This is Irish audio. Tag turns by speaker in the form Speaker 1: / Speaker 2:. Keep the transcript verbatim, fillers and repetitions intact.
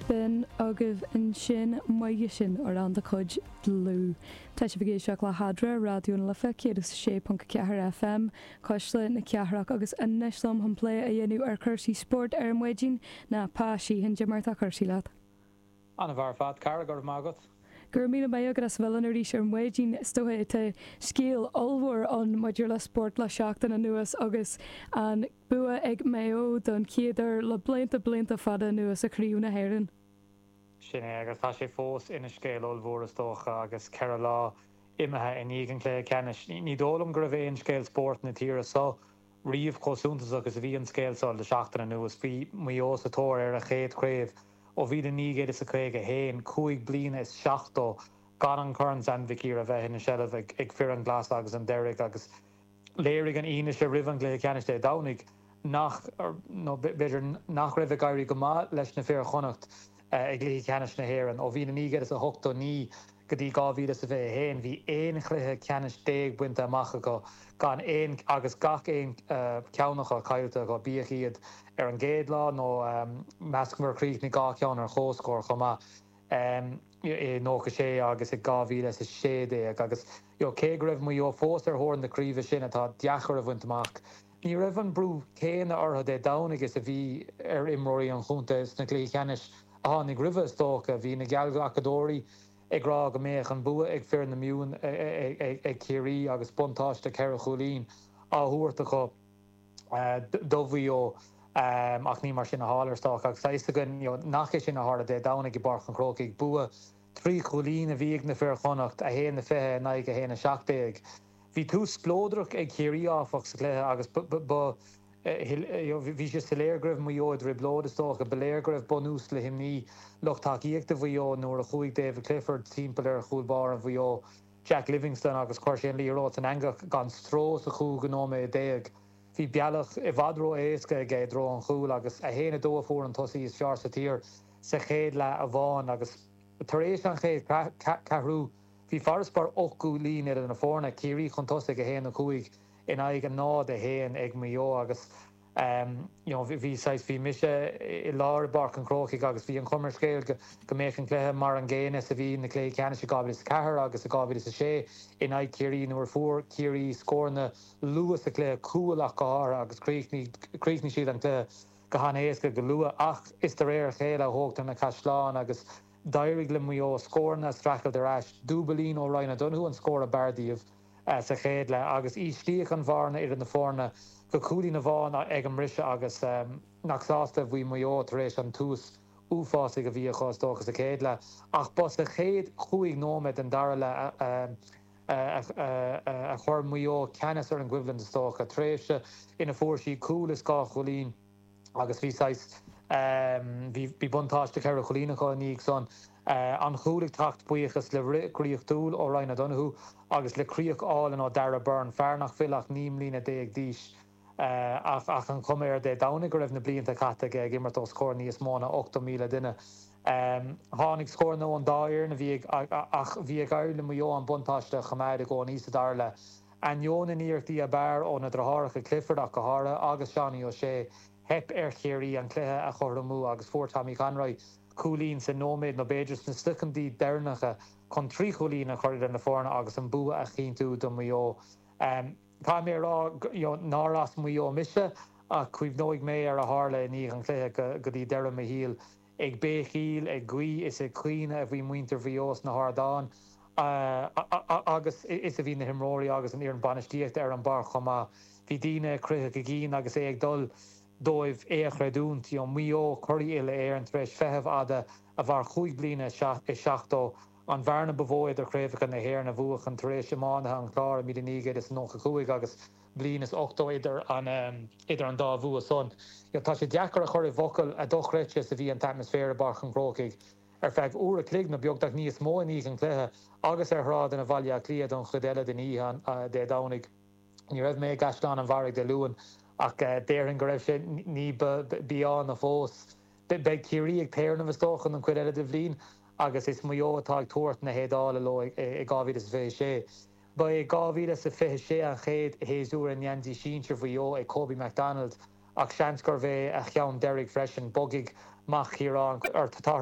Speaker 1: B'in agaibh ansin maige sin amhrán de chuid Dlúth. Tá sibh ag éisteacht le hEadra Raidió na Life céad is sé ponc ceathair FM Cuisle na Cathrach agus anois liom chun plé a dhéanamh ar chúrsaí spóirt ar maidin ná Pa Sheehan Cad é mar atá cúrsaí leat.
Speaker 2: An-mhaith ar fad cara go raibh maith agat.
Speaker 1: Gur mí mé agus as bhfuil arís ar maidin is dócha tá scéal ollmhór ann maidir le spórt le seachtain anuas agus an bua ag Maigh Eo don chéad uair le blianta blianta fada anuas i gCraobh na hÉireann.
Speaker 2: Sin é agus tá sé fós ina scéal ollmhór is dócha agus ceithre lá imithe i ndiaidh an chluiche ceannais. Ní dóigh liom go raibh aon scéal spóirt na tíre seo riamh chomh suntasach is a bhí an scéal seo le seachtain anuas bhí Maigh Eo sa tóir ar a chéad chraobh ó mhíle naoi gcéad is a caoga haon cúig bliana is seachtó gan an Corn Sam Mhic Uidhir a bheith ina seilbh ag, ag fir an ghlas agus an dearg agus léirigh an fhianaise roimh an gcluiche ceannais Dé Domhnaigh nach nó b'fhéidir nach raibh ag éirí go maith leis na fir Chonnacht i gcluichí ceannais na hÉireann ó mhíle naoi gcéad is a hochtó naoi go dtí dhá mhíle is a fiche haon bhí aon chluiche ceannais déag bainte amach acu gan aon agus gach aon ceann acu caillte acu bíodh iad ar an gcéad lá nó measaim gur chríochnaigh dhá cheann ar comhscór chomh maith i nócha sé agus i dhá mhíle is a sé déag agus cé go raibh Maigh Eo fós ar thóir na craoibhe sin atá deacair a bhaint amach. Ní raibh an brú céanna orthu Dé Domhnaigh is a bhí ar imreoirí an chontae sna cluichí ceannais a tháinig roimhe is dócha, bhí na geallghlacadóirí ag rá go mbeadh an bua ag fir na Mumhan ag Ciarraí agus buntáiste ceithre chúilín á thabhairt acu do Mhaigh Eo ach ní mar sin a tharla is dócha agus tá fhios againn nach é sin a tharla Dé Domhnaigh i bPáirc an Chrócaigh bua trí chúilín a bhí ag na fir Chonnacht a haon a fiche in aghaidh a haon a seacht déag. Bhí tús spleodrach ag Ciarraí áfach sa chluiche agus ba bhí sé soiléir go raibh Maigh Eo i dtrioblóid is dócha, ba léir go raibh bunús le himní lucht tacaíochta Mhaigh Eo nuair a chuaigh David Clifford timpeall ar chúl báire Mhaigh Eo Jack Livingston agus chuir sé an liathróid san eangach gan stró sa chúigiú nóiméad déag. Bhí bealach i bhfad ró-éasca aige i dtreo an chúil agus a haon a dó a fuair an tosaí is fearr sa tír sa chéad leath amháin agus tar éis an chéad cheathrú bhí farasbarr ocht gcúilín idir na foirne Ciarraí chun tosaigh a haon a cúig in aghaidh a náid a haon ag Maigh Eo agus um, you know, bhí bhí mise i lár i bPáirc an Chrócaigh agus bhí an chuma ar an scéal go, go mbeadh an cluiche mar an gcéanna is a bhí na cluichí ceannais i dhá mhíle is a ceathair agus i dhá mhíle is a sé in aghaidh Ciarraí nuair fuair Ciarraí scóranna luath sa chluiche cúl ach go háirithe agus chríochnaigh siad an cluiche go han-éasca go luath ach is de réir a chéile a thógtar na caisleáin agus d'éirigh le Maigh Eo scóranna a streachailt ar ais dúbailín ó Ryan O'Donoghue an scór ab fhearr díobh sa chéad leath agus íslíodh an bhearna idir na foirne go cúilín amháin ag an mbriseadh agus um, nach sásta bhí Maigh Eo tar éis an tús uafásaigh a bhí acu is dócha sa chéad leath ach ba sa chéad chúig nóiméad den dara leath a chuir Maigh Eo ceannas ar an gcoimhlint is dócha tréimhse ina fuair siad cúl is dhá chúilín agus bhí bhí buntáiste ceithre chúilín acu i ndiaidh san an cúl ag teacht buíochas le rith draíochtúil ó Ryan O'Donoghue agus le críoch álainn ó Darragh Beirne fear nach bhfuil ach naoi mbliana déag d'aois ach ach an chuma air Dé Domhnaigh go raibh na blianta caite aige ag imirt os comhair níos mó ná ochtó míle duine. Um, tháinig scóranna ón dá fhoireann a bhí ach bhí ag éirí le Maigh Eo an buntáiste a choimeád i gcónaí sa dara leath. Ainneoin na n-iarrachtaí ab fhearr ó na deartháireacha Clifford ach go háirithe agus Seánie O'Shea theip ar Chiarraí an cluiche a chothromú agus fuair Tommy Conroy cúilín sa nóiméad nó b'fhéidir sna soicind deireanacha chun trí chúilín a chur idir na foirne agus an bua a chinntiú do Mhaigh Eo. Um, Tá mé rá nár as Maigh Eo mise ach cuimhneoidh mé ar a tharla i ndiaidh an chluiche go, go dtí deireadh mo shaoil ag béicíl ag guí is ag caoineadh a bhí muintir Mhaigh Eo sna hardáin uh, agus is a bhí na himreoirí agus an fhoireann bainistíochta ar an bpáirc chomh maith. Bhí daoine croitheadh a gcinn agus é ag dul dóibh é a chreidiúint Maigh Eo curaidh uile-Éireann tar éis feitheamh fhada a mhair cúig bliana is seachtó an bhearna ba mhó idir craobhacha na hÉireann a bhuachan tar éis iománaithe an Chláir i míle naoi gcéad is nócha cúig agus bliain is ochtó idir an um, idir an dá bhua san. Tá sé deacair a chur i bhfocail a dochreidte is a bhí an t-atmaisféar i bPáirc an Chrócaigh ar feadh uair a chloig nó beagnach níos mó i ndiaidh an chluiche agus ar shráideanna Bhaile Átha Cliath don chuid eile den oíche Dé Domhnaigh. Ní raibh mé i gCaisleán an Bharraigh Dé Luain ach déarfainn go raibh sé ní ba bheanna fós. Beidh Ciarraí ag téarnamh is dócha an chuid eile den bhliain agus is Maigh Eo atá ag tabhairt na héadála leo i dhá mhíle is fiche sé. Ba é dhá mhíle is fiche sé an chéad shéasúr i ngeansaí sinsir Mhaigh Eo ag Kobe McDonald ach seans gurbh é a cheann deiridh freisin bogfaidh mac Chiaráin ar tá